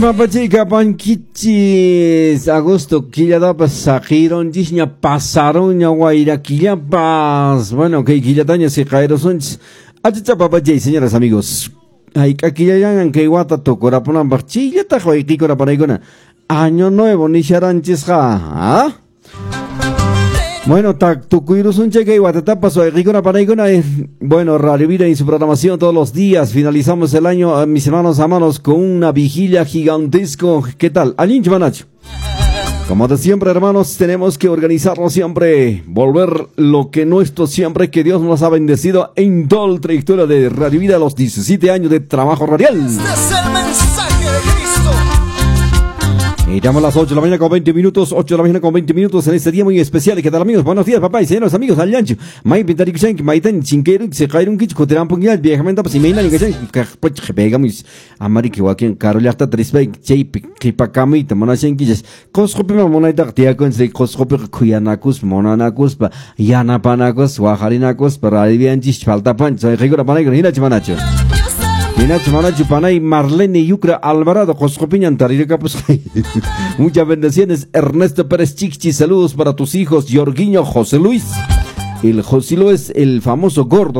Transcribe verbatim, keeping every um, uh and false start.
Papachika pankichis agosto killatapas saqirunchisña pasaronña wayra killapas. Bueno, kay killataña siqayrusunchis. Achacha papachay, señoras, amigos. Hayk'a killallañan kay wata tukurapunanpaq chillataq wayqiykuna panaykuna. Año nuevo nisharanchisqa, ¿ah? Bueno, tukuyrusunchik kay watatapas wayqiykuna panaykuna. Bueno, Radio Vida en su programación todos los días. Finalizamos el año, mis hermanos amados, con una vigilia gigantesco. ¿Qué tal? Allinchu manachu. Como de siempre, hermanos, tenemos que organizarnos siempre, volver lo que nuestro siempre, que Dios nos ha bendecido en toda la trayectoria de Radio Vida, los diecisiete años de trabajo radial. Este es el mensaje de Cristo. Y estamos a las ocho de la mañana con veinte minutos, ocho de la mañana con veinte minutos en este día muy especial. ¿Qué tal, amigos? Buenos días, papá y señores, amigos, allanchu. Maypin tarikushanki, maytan chinkayrunki, siqayrunkichu, kutirampunkiña, viajamentapas, imayna kashanki, kaqpach pegamus. Amariki wakin karu llaqtata rispayki, chaypi qhipakamuyta munashankichis. Qusqupima munaytaqa tiyakunchik, Qusqupiqa khuyanakuspa, munanakuspa, yanapanakuspa, waqarinakuspa, radivianchis faltapanchis, wayqiykuna panaykuna, hinachu manachu. Hinachu manachu panay Marlene Yucra Alvarado, Qusqupiñan taririkapusqay. Muchas bendiciones, Ernesto Pérez Chiqchi, saludos para tus hijos, Jorguiño, José Luis. El José Luis, el famoso gordo.